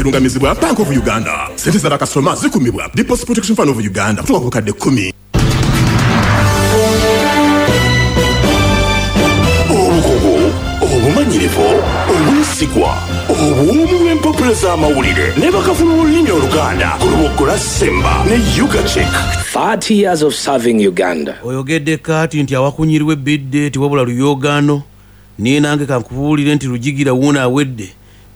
Erungamizibwa Bank of Uganda. Sente za bakasitoma zikumibwa Deposit Protection Fund of Uganda kutuuka ku bukadde kkumi. Obukugu, obumanyirivu, obwesigwa, obuwoomi bw'empapula z'amawulire ne bakafulu b'olulimi Oluganda ku Luboggola Simba ne Ugachek. 30 years of serving Uganda. Oyogedde kaati nti awakunyirwa ebbidde tewabula luyoogaano. Naye nange kankubuulire nti Lujigira wuuno awedde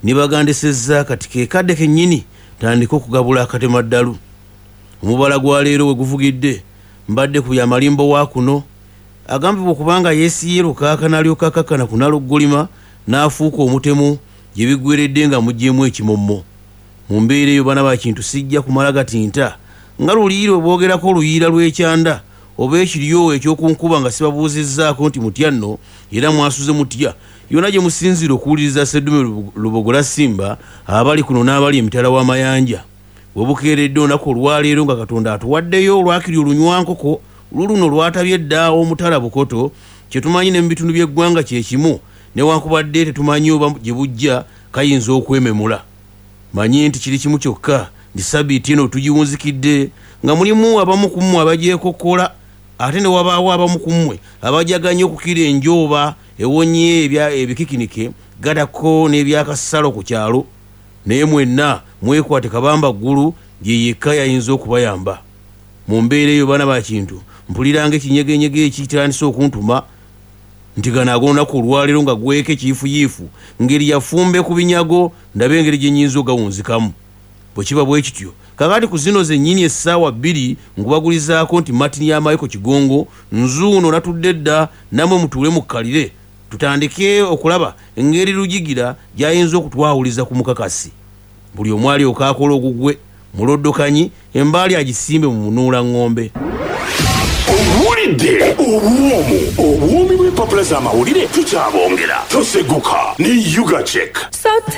ne bagandesezza kati ke kadde kennyini tandike okugabula akatemaddalu. Omubala gwa leero we guvugidde mbadde ku byamalimbo wa kuno agambibwa okuba nga yeesiye lukaaka n'alyoka akakkana ku Nalugolima n'afuuka omutemu gye biggweredde nga muggyemu ekimommo. Mu mbeera eyo bana ba Kintu sijja kumala gatinta nga luli lwe boogerako oluyiira lw'ekyanda oba ekiryo eky'oku nkuba nga sibabuuzizzaako nti mutya nno era mwasuze mutya yonna gye musinziira okuwuliriza Sseddume Lubogola Simba abali kuno n'abali emitala w'amayanja. We bukeeredde olunaku olwaleero nga Katonda atuwaddeyo olwakiri olunywankoko luluno lwatabye dda omutala Bukoto kye tumanyi ne mu bitundu by'eggwanga kye kimu newankubadde tetumanyi oba gye bujja kayinza okwememula. Manyi nti kiri kimu kyokka nti sabiiti eno tugiwunzikidde nga mulimu abamu ku mmwe abagyekokkola ate ne wabaawo abamu ku mmwe abajaganya okukira enjooba ewonye ebikikinike gattako n'ebyakasalo ku kyalo. Naye mwenna mwekwate Kabamba Ggulu ye yekka y'ayinza okubayamba. Mu mbeera eyo baana ba Kintu mpulira ng'ekinyegenyege ekitandise okuntuma nti gano ag'olunaku olwaleero nga gweko ekiyifuyiifu ngeri yafumbe ku binyago ndabe engeri gye nnyinza ogawunzikamu. Bwe kiba bwe kityo kaakati ku zino zennyini essaawa bbiri nkubagulizaako nti Martin ya Michael Kigongo nzuuno natudde dda nammwe mutuule mukkalire tutandike okulaba engeri Lujigira gy'ayinza okutwawuliza ku mukakasi. Buli omu alyoke akole ogugwe muloddokanyi embaali agisimbe mu munuulang'ombe. Owulidde obuwoomu obuwoomi bw'empapula z'amawulire tukyabongera. Toseguka ne Ugachek.